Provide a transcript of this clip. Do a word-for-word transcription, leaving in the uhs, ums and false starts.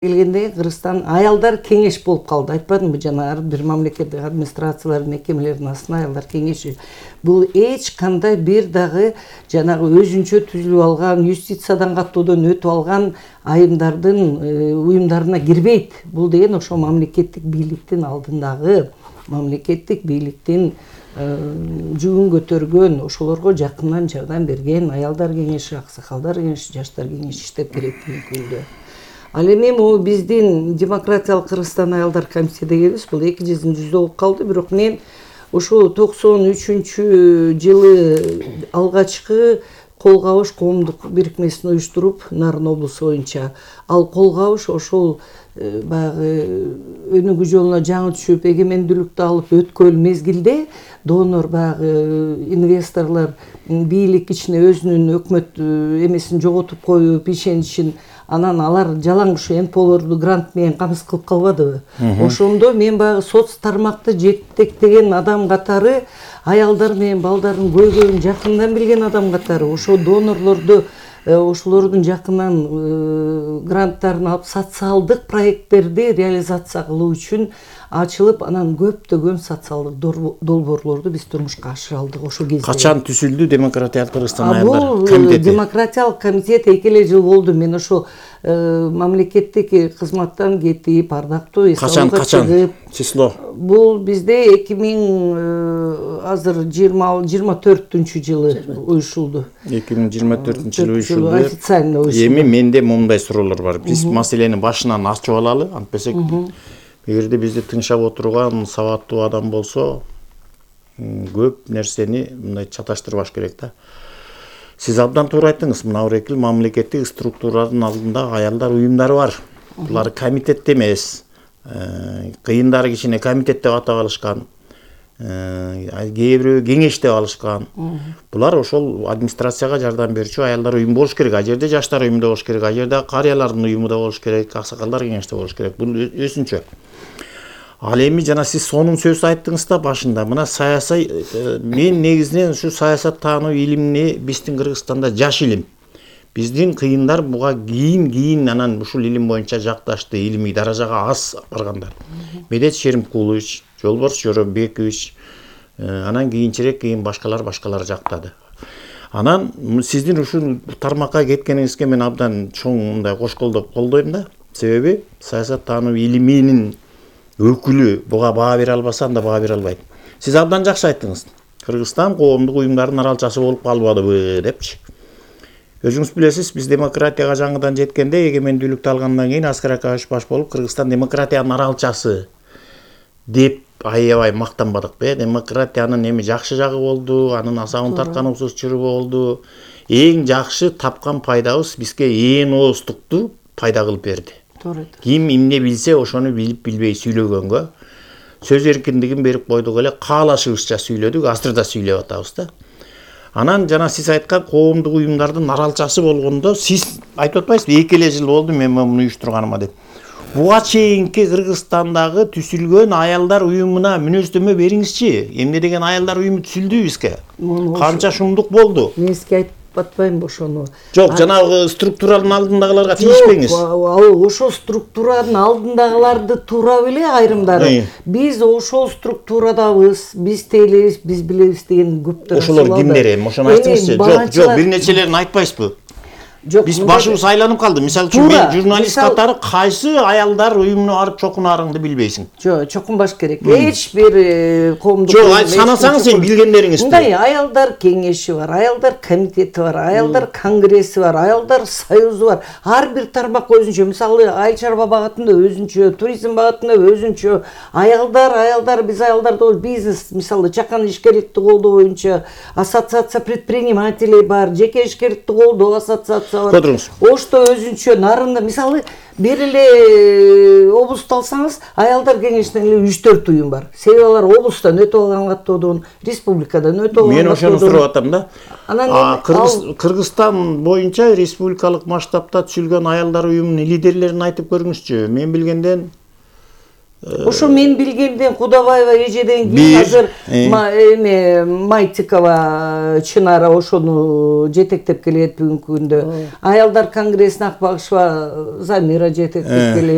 келгенде Кыргызстан аялдар кеңеш болуп калды. Айтпадымбы жана ар бир мамлекеттик администрациялар, мекемелердин астына аялдар кеңеши. Бул эч кандай бир дагы жанагы өзүнчө түзүлүп алган, юстициядан каттоодон өтүп алган айымдардын уюмдарына кирбейт. Бул деген ошо мамлекеттик бийликтин алдындагы, мамлекеттик бийликтин жүгүн көтөргөн, ошолорго жакындан жардам берген аялдар кеңеши, аксакалдар кеңеши, жаштар кеңеши иштеп берет бүгүнкү. Ал эми могу биздин демократиялык Кыргызстан аялдар комитетибиз бул эки жүзүнчү жүздө болуп калды, бирок мен ошо токсон үчүнчү жылы алгачкы кол кабыш коомдук бирикмесин уюштуруп, Нарын облусу боюнча ал кол кабыш ошол баягы өнүгүү жолуна жаңы түшүп, эгемендүүлүктү алып өткөн мезгилде донор баягы инвесторлор бийлик ичине өзүнүн өкмөт эмесин жоготуп коюп, ишеничин, анан алар жалаң ушу эн пэ олорду грант менен камсыз кылып калбадыбы? Ошондо мен баягы соц тармакты жетектеген адам катары, аялдар менен балдардын көйгөйүн жакындан билген адам катары, ошо донорлорду ошолордун жакынан гранттарын алып социалдык проекттерди реализация кылуу үчүн ачылып, анан көптөгөн социалдык долбоорлорду биз турмушка ашыра алдык ошол кезде. Качан түзүлдү демократиялык Кыргызстан аялдар комитети? Бул демократиялык комитет эки эле жыл болду. Мен ошо мамлекеттик кызматтан кетип, ардактуу качан качан число? Бул бизде эки миң азыр жыйырма төртүнчү жылы уюшулду. эки миң жыйырма төртүнчү жылы уюшулду. Официально уюшулду. Эми менде моундай суроолор бар. Биз маселени башынан ачып алалы, антпесек эгерде бизди тыңшап отурган сабаттуу адам болсо, көп нерсени мындай чаташтырбаш керек да. Сиз абдан туура айттыңыз. Мына Орекил мамлекеттик структуранын алдында аялдар уюмдары бар. Булар комитет эмес. Кыйындары кичине комитет деп атап алышкан. Кээ бирөө кеңеш деп алышкан. Булар ошол администрацияга жардам берүүчү аялдар уюму болуш керек. А жерде жаштар уюму да болуш керек. А жерде карыялардын уюму да болуш керек. Аксакалдар кеңеши да болуш керек. Бул өзүнчө. Ал эми жана сиз сонун сөз айттыңыз да башында. Мына саясий мен негизинен ушу саясаттануу илимини биздин Кыргызстанда жаш илим. Биздин кыйындар буга кийин кийин анан ушул илим боюнча жакташты, илимий даражага аз баргандар. Медет Шеримкулович, Жолборс Жоробекович, анан кийинчерээк кийин башкалар башкалар жактады. Анан сиздин ушул тармакка кеткениңизге мен абдан чоң мындай кош колдоп колдойм да. Себеби саясаттануу илиминин өкүлү буга баа бере албаса, анда баа бере албайт. Сиз абдан жакшы айттыңыз. Кыргызстан коомдук уюмдардын аралчасы болуп калбадыбы депчи. Өзүңүз билесиз, биз демократияга жаңыдан жеткенде, эгемендүүлүктү алгандан кийин Аскар Акаевич баш болуп, Кыргызстан демократиянын аралчасы деп аябай мактанбадыкпы? Демократиянын эми жакшы жагы болду, анын асабын тартканыбыз чыры болду. Эң жакшы тапкан пайдабыз бизге ээн ооздукту пайда кылып берди. Ким эмне билсе, ошону билип билбей сүйлөгөнгө сөз эркиндигин берип койдук эле, каалашыбызча сүйлөдүк, азыр да сүйлөп атабыз да. Анан жана сиз айткан коомдук уюмдардын аралчасы болгондо, сиз айтып атпайсызбы, эки эле жыл болду мен муну уюштурганыма деп. Буга чейинки Кыргызстандагы түзүлгөн аялдар уюмуна мүнөздөмө бериңизчи. Эмне деген аялдар уюму түзүлдү бизге? Канча шумдук болду? Мен сизге айтып атпайм ошону. Жок, жанагы структуранын алдындагыларга тийишпеңиз. Жок, ошол структуранын алдындагыларды туура беле айрымдары. Биз ошол структурадабыз, биз тейлебиз, биз билебиз деген көптөр. Ошолор кимдер эми? Ошону айтыңызчы. Жок, жок, бир нечелерин айтпайсызбы? Жок, биз башыбыз айланып калды. Мисалы үчүн мен журналист катары кайсы аялдар уюмуна барып чокунарыңды билбейсиң. Жок, чокунбаш керек. Эч бир коомдук. Жок, санасаңыз сен билгендериңизди. Мындай аялдар кеңеши бар, аялдар комитети бар, аялдар конгресси бар, аялдар союзу бар. Ар бир тармак өзүнчө. Мисалы айыл чарба багытында өзүнчө, туризм багытында өзүнчө. Аялдар, аялдар биз аялдарда бизнес, мисалы чакан ишкерликти колдоо боюнча ассоциация предпринимателей бар, жеке ишкерликти колдоо ассоциация. Ошто өзүнчө Нарында, мисалы бир эле облусту алсаңыз, аялдар кеңешинен эле үч төрт уюм бар. Себеби алар облустан өтүп алган каттоодон, республикадан өтүп алган. Мен ошону сурап атам да. Кыргызстан боюнча республикалык масштабта түзүлгөн аялдар уюмунун лидерлерин айтып көрүңүзчү. Мен билгенден Ошо мен билгенден Кудабаева эжеден кийин Бир, азыр э. ма- эме Майтикова Чынара ошону жетектеп келет бүгүнкү күндө. Аялдар конгрессине Акбагышева Замира жетектеп Э. келет.